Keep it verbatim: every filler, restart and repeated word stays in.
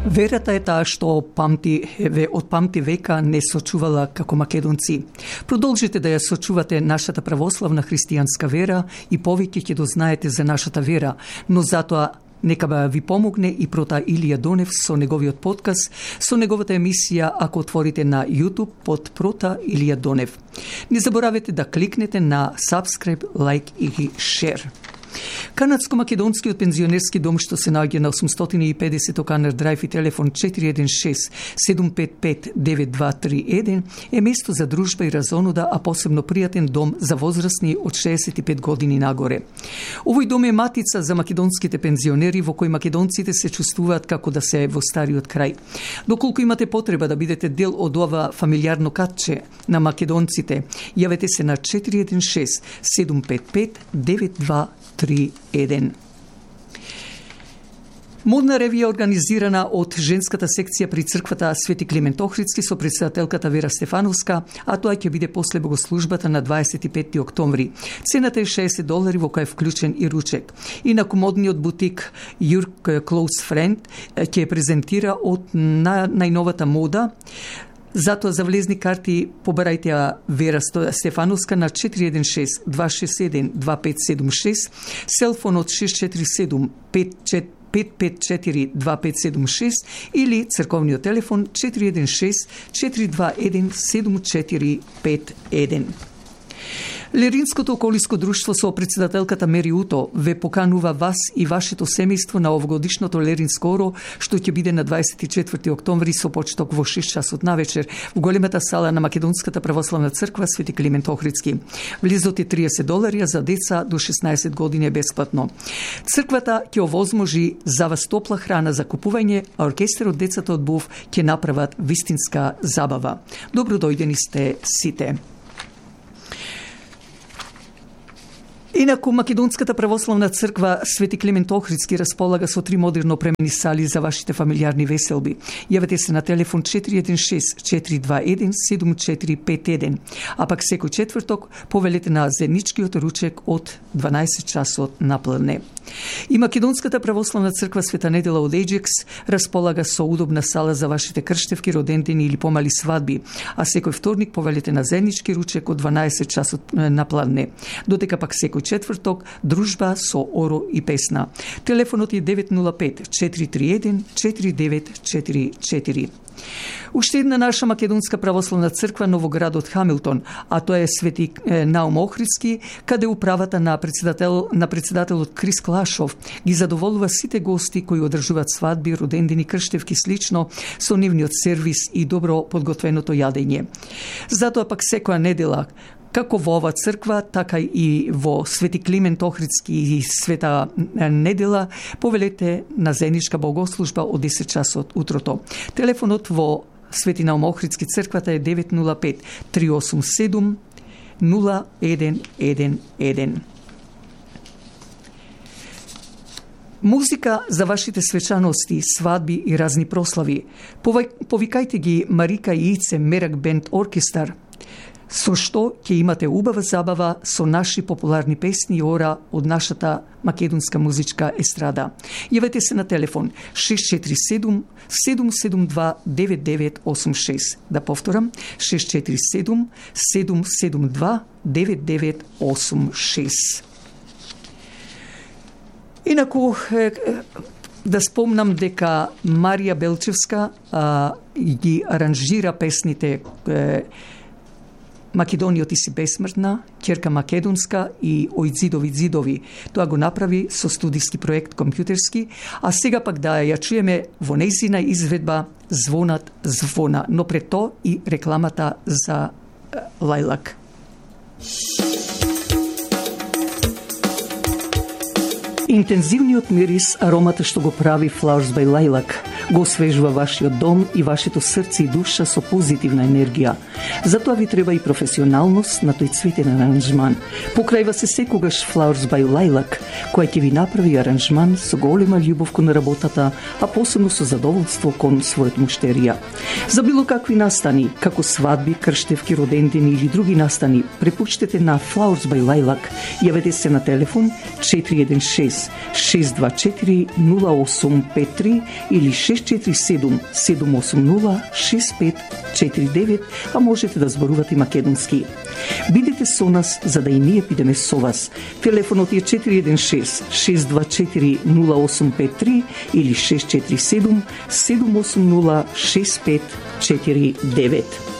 Верата е таа што памти, ве, од памти века не сочувала како македонци. Продолжите да ја сочувате нашата православна христијанска вера и повеќе ќе дознаете за нашата вера, но затоа нека ви помогне и прота Илија Донев со неговиот подкаст, со неговата емисија ако отворите на YouTube под прота Илија Донев. Не заборавете да кликнете на subscribe, like и share. Канадско-македонскиот пензионерски дом што се наоѓа на осумстотини и педесет Оканер Драйв и телефон четири еден шест седум пет пет девет два три еден е место за дружба и разонуда, а посебно пријатен дом за возрастни од шеесет и пет години нагоре. Овој дом е матица за македонските пензионери во кој македонците се чувствуваат како да се во стариот крај. Доколку имате потреба да бидете дел од ова фамилиарно катче на македонците, јавете се на четири еден шест седум пет пет девет два три еден. Модна ревија организирана од женската секција при црквата Свети Климент Охридски со претседателката Вера Стефановска, а тоа ќе биде после богослужбата на дваесет и петти октомври. Цената е шеесет долари во која е вклучен и ручек. Инаку модниот бутик Your Close Friend ќе презентира од на, најновата мода. Затоа за влезни карти побарајте ја Вера Стефановска на четири еден шест два шест еден два пет седум шест, селфонот шест четири седум пет пет четири два пет седум шест или црковниот телефон четири еден шест четири два еден седум четири пет еден. Леринското околиско друштво со претседателката Мери Уто ве поканува вас и вашето семејство на овогодишното Леринско оро, што ќе биде на дваесет и четврти октомври со почеток во шест часот навечер во големата сала на Македонската православна црква Свети Климент Охридски. Влезот е триесет долари, а за деца до шеснаесет години е бесплатно. Црквата ќе овозможи за вас топла храна за купување, а оркестерот Децата од Був ќе направат вистинска забава. Добро дојдени сте сите. Инаку, Македонската православна црква Свети Климент Охридски располага со три модерно опремени сали за вашите фамилиарни веселби. Јавете се на телефон четири еден шест четири два еден седум четири пет еден, а пак секој четврток повелете на заедничкиот ручек од дванаесет часот напладне. И Македонската православна црква Света Недела од Еџекс располага со удобна сала за вашите крштевки, родендени или помали свадби, а секој вторник повелете на заеднички ручек од дванаесет часот напладне. Додека пак секој четврток дружба со оро и песна. Телефонот е девет нула пет четири три еден четири девет четири четири. Уште една наша македонска православна црква Новоградот Хамилтон, а тоа е Свети Наум Охридски, каде управата на председател на председателот Крис Клашов ги задоволува сите гости кои одржуваат свадби, родендени, крштевки слично со нивниот сервис и добро подготвеното јадење. Затоа пак секоја недела како во ова црква, така и во Свети Климент Охридски и Света Недела, повелете на заедничка богослужба од десет часот утрото. Телефонот во Свети Наум Охридски црквата е девет нула пет три осум седум нула еден еден еден. Музика за вашите свечаности, свадби и разни прослави. Повикајте ги Марика и Ице Мерак Бенд Оркестар, со што ќе имате убава забава со наши популарни песни и ора од нашата македонска музичка естрада. Јавете се на телефон шест четири седум седум седум два девет девет осум шест. Да повторам, шест четири седум седум седум два девет девет осум шест. Инаку, да спомнам дека Марија Белчевска а, ги аранжира песните е, Македонијот и си бесмртна, Ќерка македонска и Ој ѕидови ѕидови. Тоа го направи со студиски проект компјутерски, а сега пак да ја чуеме во нејзина изведба Звонат звона, но пред тоа и рекламата за Лајлак. Интензивниот мирис, аромата што го прави Flowers by Lilac, го освежува вашиот дом и вашето срце и душа со позитивна енергија. Затоа ви треба и професионалност на тој цветен аранжман. Покрајва се секогаш Flowers by Lilac, која ќе ви направи аранжман со голема љубов кон работата, а посебно со задоволство кон својот муштерија. За било какви настани, како свадби, крштевки, родендени или други настани, препуштете на Flowers by Lilac. Јавете се на телефон четири еден шест шест шест два четири нула осум пет три или шест четири седум седум осум нула шест пет четири девет, а можете да зборувате македонски. Бидете со нас за да и ние бидеме со вас. Телефонот е четири еден шест шест два четири нула осум пет три или шест четири седум седум осум нула шест пет четири девет.